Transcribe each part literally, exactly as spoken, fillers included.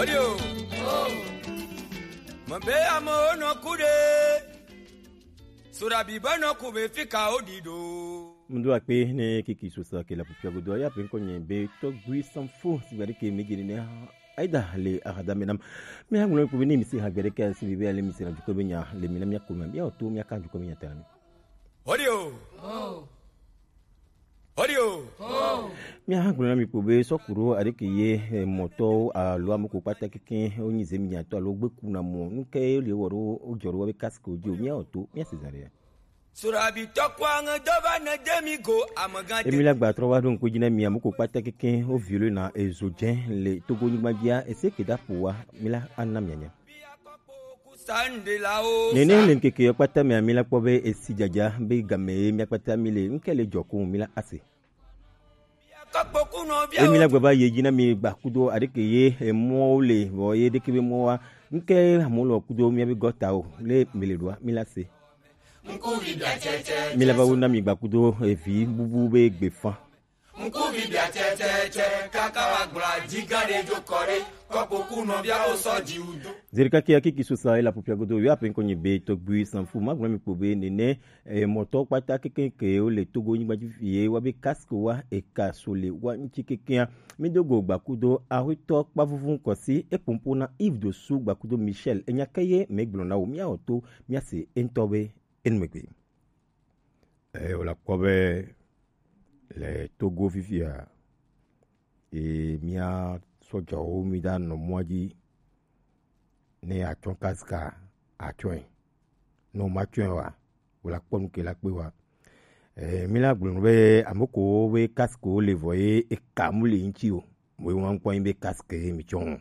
Yo. Mo be amo no kude. Surabi bono kube fika odido. Mdo akpe ne kiki sosa ke la pupia godo ya pe nko nye be to gui sanfo si gade ke mejiri ne. Aida le ahada menam. Me ha ngulo ko ni mi si ha gade ke si bibe ale mi si na juko be nya le mi na mi akuma mi oto mi aka juko be nya tami. Audio. Audio. Mi ha ngulo mi ko be sokuro adike ye moto a lo amuko pata keke onyi zemi nya to alo gbe kuna mo nke le woro ojoro wa be casque ojo mi oto mi asezare. Surabi tokwa nga dova na demi go amaga. Emi la gba tro wa don ko jina mi amuko pata keke o viole na ezo jen le togo ni gbadia ese ke da po wa mi la anna mi anya. Nene le nkeke yo kpata mi ami la kpo be esi jaja be game mi akpata mi le nke le joko mi la ase. Emi la gbaba ye jina mi gba kudo adike ye emo le bo ye deke be mo wa nke amulo kudo mi abi gota o le mi le dua mi la se. Mi la ba wuna mi gba kudo evi bubu be gbe fan. Zerika kia kiki susa ela pupia godo yo ape nkonyi be togbi sanfu magblɔ mi kpo be nene. E, mɔtɔ kpata kekeŋ ke wo le Togo nyigba dzi fie wa be casque wa e ka so le wa ŋuti kekeŋa. Mi do go gbakudo ahwetɔ kpavuvun kɔsi e pompo na Yves Dossou gbakudo Michel enya ke ye me gblɔ na wo mia oto mia se entɔ be enu megbe. E, wo la kpɔ be le Togo fifia e mia sɔdzɔwo mi da nɔ mɔa dzi ne atsɔ casque atsɔe. No ma tsɔe wa wo la kpɔ nu ke la kpe wa. Eh, mi la gblɔ nu be ame ko be casque wo le vɔ ye eka mu le ŋuti o. Mo ye ŋkpɔ be casque ye mi tsɔ.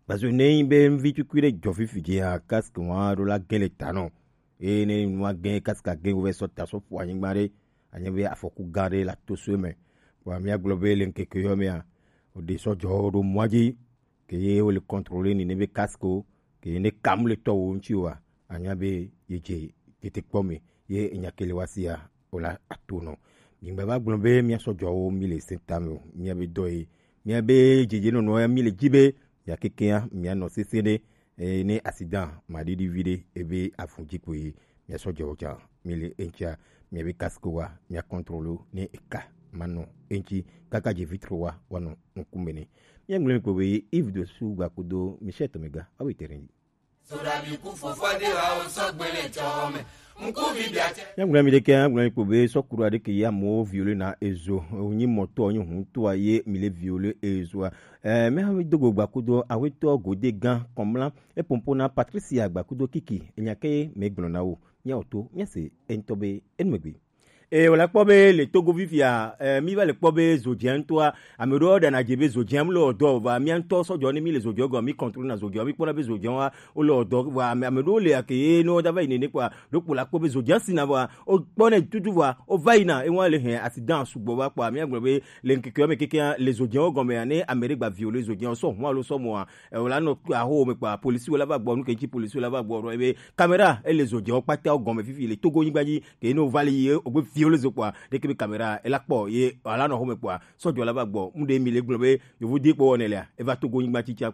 Parce que ne be mvi tukui ɖe dzɔ fifi dzi ya casque wa ɖo la gɛ le ta nɔ. Eye ne nua gɛ casque gɛ wo vɛ sɔ ta sɔ ƒo anyigba ɖe anye be afɔku gã ɖe la to so me. Wa mi agblɔ be le ŋkeke yɔ mea o de sɔ dzɔ ɖo mɔa dzi ke ye wo le contrôler ni ne be casque o ke ye ne kam le tɔ wo ŋuti wa anya be ye dze tete kpɔ me ye enya ke le wa sia o la ato nɔ. Mi gba va gblɔ be mia sɔ dzɔ wo mi le se ta me o mia be dɔ ye mia be dzedze nɔnɔ ya mi le dzi be mia kekea mia nɔ sese ɖe. Eye ne accident maɖiɖi vi ɖe ebe afun dzi ko ye mia sɔ dzɔ wo tsa mi le eŋtsia mia be casque wa mia contrôle ne eka manɔ eŋtsi kaka dze vitre wa wanɔ ŋkume ne. Míagblɔe kpo be Yves Dossou gbakudo Michel Tomega awo ite ɖe dzi. Míagblɔe mi ɖeke míagblɔe kpo be sɔkuru aɖeke ye amewo viole na ezo wonyi mɔtɔ wonyi huntoa ye mi le viole ezoa. Eh, míadogo gbakudo awetɔ gode gã kɔmla epompo na Patricia gbakudo kiki enya ke míagblɔ na wo míawɔ to míase eŋutɔ be enumegbe. Eye wòle kpɔ be le Togo fifia, eh, mi va le kpɔ be zodzia ŋutɔa, ame ɖewo ɖana dze be zodzia mu le ɔdɔ va mía ŋutɔ sɔdzɔ ne mi le zodzia gɔme mi kɔntrol na zodzia mi kpɔna be zodzia wa wo le ɔdɔ va ame ame ɖewo le ake ye ne wo da va yi nene kpɔa ɖokpo la kpɔ be zodzia sina va wo kpɔ ne tutu va wo va yina ewa le hɛn accident sugbɔ va kpɔa mi agblɔ be le ŋkeke me keke le zodzia wo gɔme ya ne ame ɖe gba vi wo le zodzia wo sɔ hɔn alo sɔ mɔa e wo la nɔ aho me kpɔa polisi wo la va gbɔ nu ke ŋuti polisi wo la va gbɔ ɖo ebe kamera ele zodzia wo kpata wo gɔme fifi le Togo nyigba dzi ke ne wova le yi wogbe viwo le zo kpɔa ɖeke be kamera ela kpɔ ye ala nɔ xɔme kpɔa sɔdzɔ la va gbɔ mu ɖe mi le gblɔ be yovo di kpɔ wɔnɛ lea eva Togo nyigba tsitsia kpɔa